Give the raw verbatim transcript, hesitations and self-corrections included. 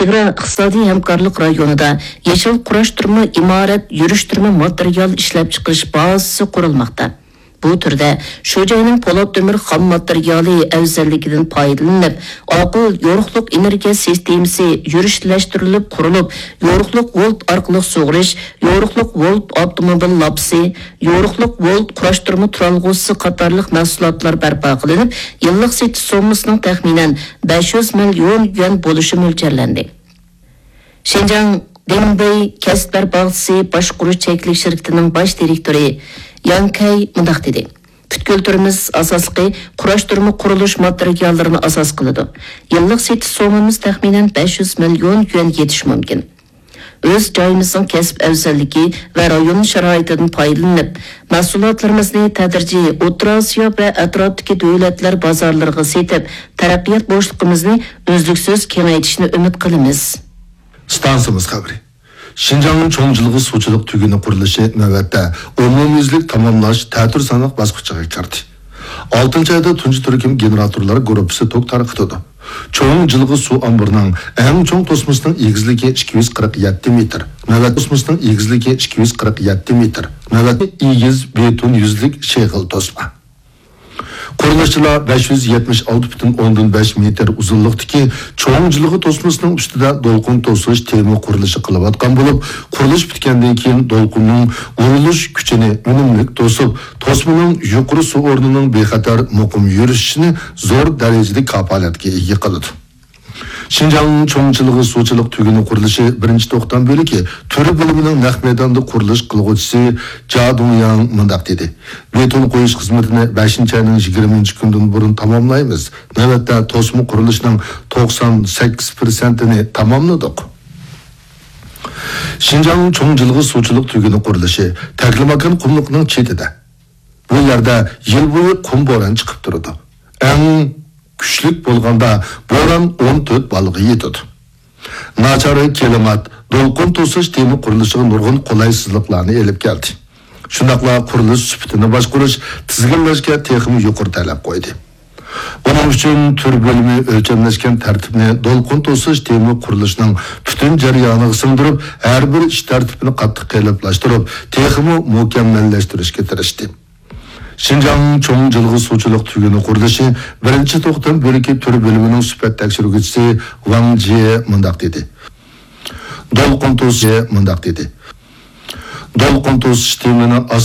ياۋروپا ئىقتىسادىي ھەمكارلىق رايونىدا يېشىل قۇراشتۇرما ئىمارەت يۈرۈشتۈرمە ماتېرىيال ئىشلەپچىقىرىش بازىسى قۇرۇلماقتا. بۇ تۈردە شۇ جاينىڭ پولات تۆمۈر خام ماتېرىيالى ئەۋزەللىكىدىن پايدىلىنىپ، ئاقىل يورۇقلۇق ئېنېرگىيە سىستېمىسى يۈرۈشلەشتۈرۈلۈپ قۇرۇلۇپ، يورۇقلۇق ۋولت ئارقىلىق سۇغىرىش، يورۇقلۇق ۋولت ئاپتوموبىل لاپىسى، يورۇقلۇق ۋولت قۇراشتۇرما تۇرالغۇسى قاتارلىق مەھسۇلاتلار بەرپا قىلىنىپ، يىللىق سېتىش سوممىسىنىڭ تەخمىنەن بەش يۈز مىليون يۈەن بولۇشى مۆلچەرلەندى. شىنجاڭ دېڭبېي كەسىپلەر باغچىسى باشقۇرۇش چەكلىك شىركىتىنىڭ باش دىرېكتورى ياڭ كەي مۇنداق دېدى: پۈتكۈل تۈرىمىز ئاساسلىقى قۇراشتۇرما قۇرۇلۇش ماتېرىياللىرىنى ئاساس قىلىدۇ. يىللىق سېتىش سوممىمىز تەخمىنەن بەش يۈز مىليون يۈەن يېتىشى مۇمكىن. ئۆز جايىمىزنىڭ كەسىپ ئەۋزەللىكى ۋە رايون شارائىتىدىن پايدىلىنىپ، مەھسۇلاتلىرىمىزنى تەدرىجىي ئوتتۇرا ئاسىيا ۋە ئەتراپتىكى دۆلەتلەر بازارلىرىغا سېتىپ، تەرەققىيات بوشلۇقىمىزنى ئۈزلۈكسىز كېڭەيتىشنى ئۈمىد قىلىمىز. ئىستانسىمىز خەۋىرى. شىنجاڭ چوڭ جىلغا سۇچىلىق تۈگۈنى قۇرۇلۇشى نۆۋەتتە ئومۇميۈزلۈك تاماملاش تەتۈر سانلىق باسقۇچىغا كىردى. ئالتىنچى ئايدا تۇنجى تۈركۈم گېنېراتورلار گۇرۇپپىسى توك تارقىتىدۇ. چوڭ جىلغا سۇ ئامبىرىنىڭ ئەڭ چوڭ توسمىسىنىڭ ئېگىزلىكى ئىككى يۈز قىرىق يەتتە مېتىر، نۆۋەتتە توسمىسىنىڭ ئېگىزلىكى ئىككى يۈز قىرىق يەتتە مېتىر، نۆۋەتتە ئېگىز بېتون يۈزلۈك شېغىل توسما. قۇرۇلۇشچىلار بەش يۈز يەتمىش ئالتە پۈتۈن ئوندىن بەش مېتىر ئۇزۇنلۇقتىكى چوڭ جىلغا توسمىسىنىڭ ئۈستىدە دولقۇن توسۇش تېما قۇرۇلۇشى قىلىۋاتقان بولۇپ، قۇرۇلۇش پۈتكەندىن كېيىن دولقۇننىڭ ئۇرۇلۇش كۈچىنى ئۈنۈملۈك توسۇپ، توسمىنىڭ يۇقىرى سۇ ئورنىنىڭ بىخەتەر، مۇقىم يۈرۈشۈشىنى زور دەرىجىدە كاپالەتكە ئىگە قىلىدۇ. شىنجاڭ چوڭ جىلغا سۇچىلىق تۈگۈنى قۇرۇلۇشى بىرىنچى توختام بۆلىكى تۈر بۆلۈمىنىڭ نەق مەيداندا قۇرۇلۇش قىلغۇچىسى جا دۇڭياڭ مۇنداق دېدى: بېتون قويۇش خىزمىتىنى بەشىنچى ئاينىڭ يىگىرمىنچى كۈنىدىن بۇرۇن تاماملايمىز. نۆۋەتتە توسما قۇرۇلۇشىنىڭ توقسان سەككىز پىرسەنتىنى تاماملىدۇق. شىنجاڭ چوڭ جىلغا سۇچىلىق تۈگۈنى قۇرۇلۇشى تەكلىماكان قۇملۇقىنىڭ چېتىدە. بۇ يەردە يىل بويى قۇم بوران چىقىپ تۇرىدۇ. ئەڭ كۈچلۈك بولغاندا بوران ئون تۆت بالغا يېتىدۇ. ناچار كىلىمات دولقۇن توسۇش تېما قۇرۇلۇشىغا نۇرغۇن قولايسىزلىقلارنى ئېلىپ كەلدى. شۇنداقلا قۇرۇلۇش سۈپىتىنى باشقۇرۇش، تىزگىنلەشكە تېخىمۇ يۇقىرى تەلەپ قويدى. بۇنىڭ ئۈچۈن تۈر بۆلۈمى ئۆلچەملەشكەن تەرتىپنى دولقۇن توسۇش تېما قۇرۇلۇشىنىڭ پۈتۈن جەريانىغا سىڭدۈرۈپ، ھەر بىر ئىش تەرتىپىنى قاتتىق قېلىپلاشتۇرۇپ، تېخىمۇ مۇكەممەللەشتۈرۈشكە تىرىشتى. شىنجاڭ چوڭ جىلغا سۇچىلىق تۈگۈنى قۇرۇلۇشى بىرىنچى توختام بۆلىكى تۈر بۆلۈمىنىڭ سۈپەت تەكشۈرگۈچىسى ۋاڭ جيې مۇنداق دېدى: دولقۇن توسۇش، مۇنداق دېدى: دولقۇن توسۇش تېمىنى ئاسراش